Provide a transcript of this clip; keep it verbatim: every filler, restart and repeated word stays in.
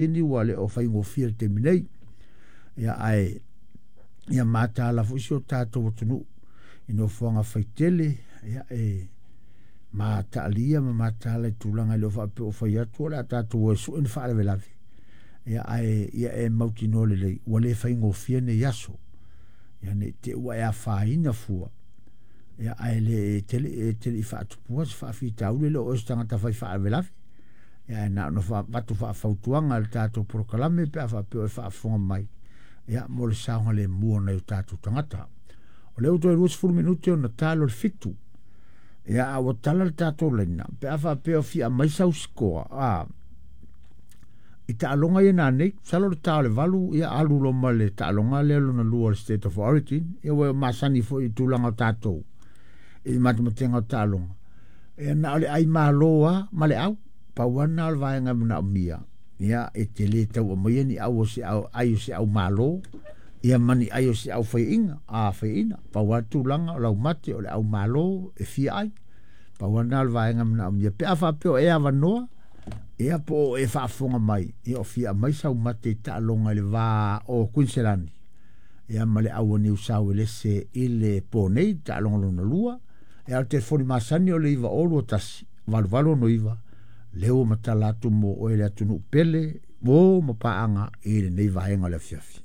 Ni ua le o faigofie le taimi nei. Ia ae ia mataala foi si o tatou atunuu i nofoaga faitele, ia e mataalia ma mataala i tulaga e le o faapea o fai atu o le a tatou o e sue ni faalavelave. Ia ae ia e mautinoa lelei ua le faigofie nei aso. Ia ne i te i ua e afaina fua, ia ae le e te le e te le i faatupua se faafitauli, e le o oe o se tagata fai faalavelave. Ia ae na ona avatu faafautuaga e le tatou polokalame pe a faapea o e faafofoga mai, ia mo le saogalemu o nai o tatou tagata. O lea ua toe luasefulu minute ona talo le fitu. Ia a ua tala le tatou laina, pe a faapea o fia aumai sau sikoa, a i taaloga ia nanei, masalo o le ta o le valu, ia alu loa ma le taaloga lea lona lua o le State of Origin. Ia ua masani foi i tulaga o tatou i le matemateaga o taaloga. Ia na o le ai malo lava ma le au. Pau lava lena o le vaega e manaomia. Ia e te le tau aumaia ni au o se au, ai o se au malo, ia ma ni ai o se au faiaina, a faiaina. Pau lava le tulaga o laumate o le au malo e fia ai. Pau lava lena o le vaega e manaomia. Pe a faapea o e avanoa, ia po o e faafofoga mai, ia o fia aumai sau mate i taaloga i le va o Kuiniselani, ia ma le au o Niu Sauelese i le po nei, taaloga lona lua. Ia o le telefoni masani o le iva olu o tasi, valu valu ono iva, lea ua matala atu mo oe le atunuu pele, mo ma paaga i lenei vaega o le afiafi.